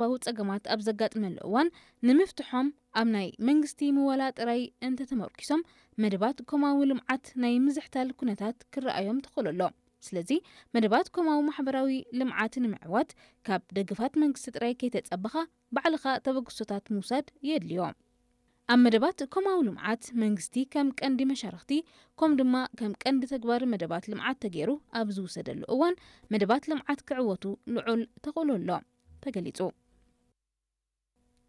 ቁጠባዊ ጸገማት ኣብ ዘጋጥመሉ እዋን ንምፍትሖም ኣብ ናይ መንግስቲ ምወላ ጥራይ እንተተመርኪሶም መደባት ኮማዊ ልምዓት ናይ ምዝሕታል ኩነታት ክረኣዮም ተኽእሎ ኣሎ። ስለዚ መደባት ኮማዊ ማሕበራዊ ልምዓት ንምዕዋት ካብ ደገፋት መንግስቲ ጥራይ ከይተጸበኻ ባዕልኻ ተበግሶታት ምውሳድ የድልዮ። ኣብ መደባት ኮማዊ ልምዓት መንግስቲ ከም ቀንዲ መሻርኽቲ ከም ድማ ከም ቀንዲ ተግባር መደባት ልምዓት ተገይሩ ኣብ ዝውሰደሉ እዋን መደባት ልምዓት ክዕወቱ ልዑል ተኽእሎ ኣሎ ተገሊጹ።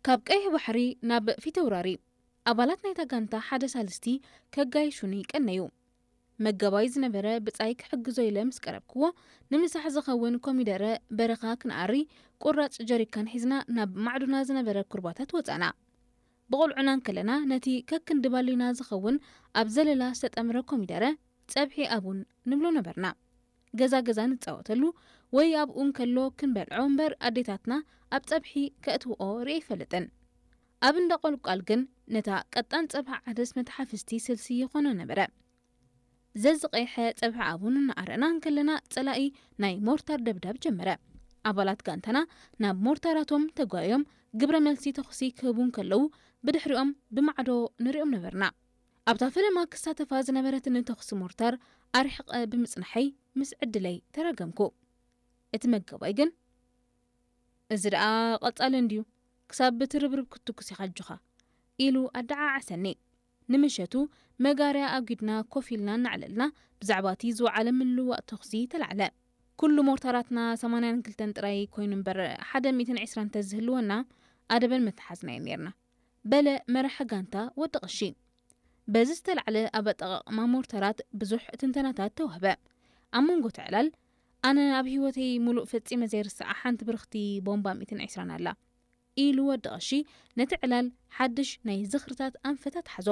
ካብ ቀይሕ ባሕሪ ናብ ፊተውራሪ ኣባላት ናይታ ጋንታ ሓደ ሳልስቲ ከጋይሹኒ ቀነዩ። መጋባይ ዝነበረ ብጻይ ክሕግዞ ኢለ ምስ ቀረብክዎ፣ ንምሳሕ ዝኸውን ኮሚደረ በረኻ ክንኣሪ ቁራጽ ጀሪካን ሒዝና ናብ ማዕዱና ዝነበረ ኩርባታት ወጻና። ብቆልዑና እንከለና ነቲ ከክንዲ ባሊና ዝኸውን ኣብ ዘለላ ዝተጠምረ ኮሚደረ ጸብሒ ኣቡን ንብሎ ነበርና። ገዛ ገዛ ንጻወተሉ ወይ ኣብኡ እንከሎ ክንበልዖ እምበር ኣዴታትና ኣብ ጸብሒ ከእትውኦ ርኢ ኣይፈልጥን። ኣብ እንዳ ቆልቋል ግን ነታ ቀጣን ጸብሒ ዓደስ መተሓፍስቲ ስልሲ ይኾኖ ነበረ። ዘዝቐይሐ ጸብሒ ኣቡን እናኣረና እንከለና ጸላኢ ናይ ሞርታር ደብዳብ ጀመረ። ኣባላት ጋንታና ናብ ሞርታራቶም ተጓዮም ግብረ መልሲ ተኹሲ ክህቡ እንከለዉ ብድሕሪኦም ብማዕዶ ንሪኦም ነበርና። ኣብታ ፈለማ ክሳተፋ ዝነበረትኒ ተኹሲ ሞርታር ኣርሒቐ ብምጽናሐይ ምስ ዕድለይ ተራገምኩ። እቲ መጋባይ ግን፣ "እዚ ደኣ ቀጻሊ እንድዩ፣ ክሳብ ብትርብርብ ክትትኩስ ኢኻ ኣጆኻ" ኢሉ ኣደዓዓሰኒ። ንምሸቱ መጋርያ ኣጒድና ኮፍ ኢልና እናዕለልና ብዛዕባ እቲ ዝወዓለ ምልውዋጥ ተኹሲ ተላዕለ። ኩሉ ሞርታራትና ሰማንያን ክልተን ጥራይ ኮይኑ እምበር ሓደ ሚእትን ዕስራን እንተዝህልወና ኣደበን መተሓዝናዮን ኔርና። በለ መራሒ ጋንታ ወዲ ቀሺ። በዚ ዝተላዕለ ኣብ ኣጠቓቕማ ሞርተራት ብዙሕ ትንተናታት ተዋህበ። ኣብ መንጎ እቲ ዕላል፣ ኣነ ኣብ ህይወተይ ሙሉእ ፈጺመ ዘይርስዓ ሓንቲ ብርኽቲ ቦምባ ሚእትን ዕስራን ኣላ ኢሉ ወዲ ቀሺ ነቲ ዕላል ሓድሽ ናይ ዝኽርታት ኣንፈት ኣትሓዞ።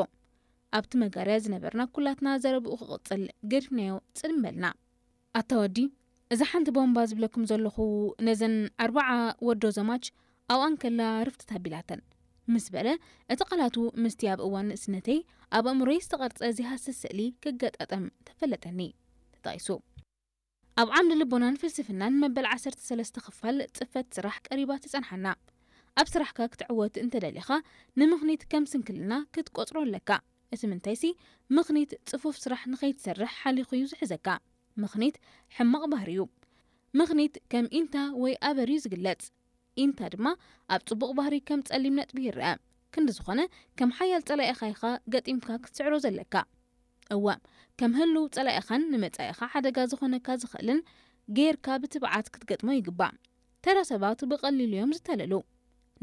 ኣብቲ መጋርያ ዝነበርና ኩላትና ዘረብኡ ክቕጽል ገዲፍናዮ ጽልም በልና። ኣታ ወዲ፣ እዛ ሓንቲ ቦምባ ዝብለኩም ዘለኹ ነዘን ኣርባዓ ወዶ ዘማች ኣብኣን ከላ ርፍትት ኣቢላተን ምስ በለ፣ እቲ ቃላቱ ምስቲ ኣብ እዋን ንእስነተይ ኣብ ኣእምሮይ ዝተቐርጸ ዘይሃስስ ስእሊ ክገጣጠም ተፈለጠኒ። ተጠቒሱ። ኣብ ዓምዲ ልቦናን ፍልስፍናን መበል ዓሰርተ ሰለስተ ክፋል ጽፈት ስራሕ ቀሪባ ትጸንሓና። ኣብ ስራሕካ ክትዕወት እንተደሊኻ ንምኽኒት ከም ስንክልና ክትቆጽሮ ኣለካ። እቲ ምንታይሲ ምኽኒት ጽፉፍ ስራሕ ንኸይትሰርሕ ሓሊኹ እዩ ዝሕዘካ። ምኽኒት ሕማቕ ባህሪ እዩ። ምኽኒት ከም ኢንታ ወይ ኣበር እዩ ዝግለጽ። ኢንታ ድማ ኣብ ጽቡቕ ባህሪ ከም ጸሊም ነጥቢ ይረኣ። ክንዲ ዝኾነ ከም ሓያል ጸላኢኻ ኢኻ ገጢምካ ክትስዕሮ ዘለካ። እወ፣ ከም ህሉው ጸላኢኻን ንመጻኢኻ ሓደጋ ዝኾነካ ዝኽእልን ጌርካ ብትብዓት ክትገጥሞ ይግባእ። ተራ ሰባት ብቐሊሉ እዮም ዝታለሉ።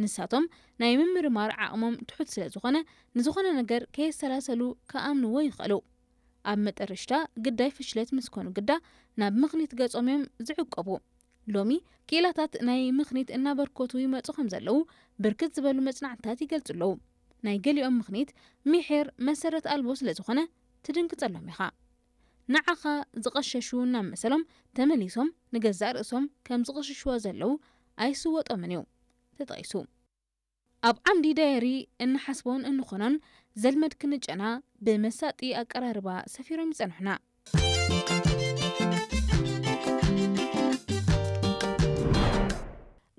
ንሳቶም ናይ ምምርማር ዓቕሞም ትሑት ስለ ዝኾነ፣ ንዝኾነ ነገር ከየሰላሰሉ ክኣምንዎ ይኽእሉ። ኣብ መጠረሽታ ግዳይ ፍሽለት ምስ ኮኑ ግዳ ናብ ምኽኒት ገጾም እዮም ዝዕቀቡ። ሎሚ ክኢላታት ናይ ምኽኒት እናበርከቱ ይመጹ ከም ዘለዉ ብርክት ዝበሉ መጽናዕትታት ይገልጹ ኣለዉ። ናይ ገሊኦም ምኽኒት ሚሒር መሰረት ኣልቦ ስለ ዝኾነ ትድንግጸሎም ኢኻ። ንዓኻ ዝቐሸሹ እናመሰሎም ተመሊሶም ንገዛእ ርእሶም ከም ዝቕሽሽዎ ዘለዉ ኣይስወጦምን እዩ። ተጠቒሱ። ኣብ ዓምዲ ዳየሪ እንሓስቦን እንኾኖን ዘልመድ ክንጨና ብመሳጢ ኣቀራርባ ሰፊሮም ይጸንሑና።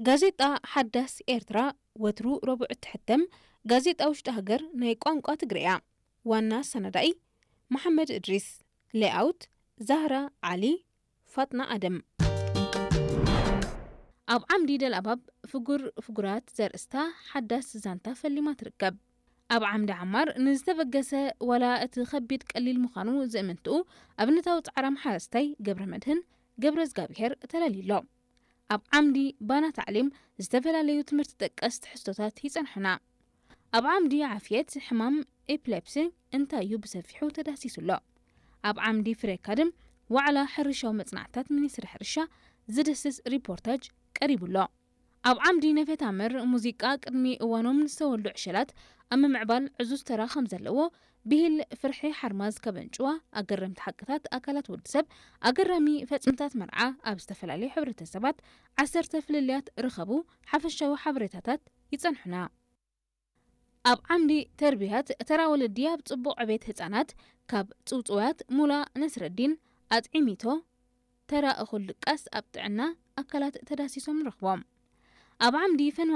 ጋዜጣ ሓዳስ ኤርትራ ወትሩ ረቡዕ እትሕተም ጋዜጣ ውሽጢ ሃገር ናይ ቋንቋ ትግረ እያ። ዋና ኣሰናዳኢ መሓመድ እድሪስ። ሌኣውት ዛህራ ዓሊ፣ ፋጥና ኣደም። ኣብ ዓምዲ ደልኣባብ ፍጉር ፍጉራት ዘርእስታ ሓዳስ ዛንታ ፈሊማ ትርከብ። ኣብ ዓምዲ ዓማር ንዝተበገሰ ዋላ እቲ ከቢድ ቀሊል ምዃኑ ዝእምንትኡ ኣብነታዊ ጻዕራም ሓረስታይ ገብረ መድህን ገብረ እግዚኣብሔር ተላልዩ ኣሎ። ኣብ ዓምዲ ባና ታዕሊም ዝተፈላለዩ ትምህርቲ ጠቀስ ትሕዝቶታት ይጸንሑና። ኣብ ዓምዲ ዓፍየት ሕማም ኤፕሌፕሲ እንታይ እዩ ብሰፊሑ ተዳህሲሱ ኣሎ። ኣብ ዓምዲ ፍሬ ካድም ዋዕላ ሕርሻዊ መጽናዕትታት ሚኒስትሪ ሕርሻ ዝድህስስ ሪፖርታጅ ቀሪቡ ኣሎ። ኣብ ዓምዲ ነፈታምር ሙዚቃ ቅድሚ እዋኖም ንዝተወልዱ ዕሸላት ኣብ ምምዕባል ዕዙዝ ተራ ከም ዘለዎ ብሂል ፍርሒ ሓርማዝ ከበንጭዋ ኣገረምቲ ሓቅታት ኣካላት ወዲ ሰብ ኣገራሚ ፈጽምታት መርዓ ኣብ ዝተፈላለዩ ሕብረተሰባት ዓሰርተ ፍልልያት ርኸቡ ሓፈሻዊ ሓበሬታታት ይጸንሑና። ኣብ ዓምዲ ተርቢያት ተራ ወለዲ ኣብ ጽቡቕ ዕቤት ህጻናት ካብ ጽውጽዋያት ሙላ ነስረዲን ኣጥዒሚቶ ተራ እኹል ድቃስ ኣብ ጥዕና ኣካላት ተዳሲሶም ንረኽቦም። ኣብ ዓምዲ ፈን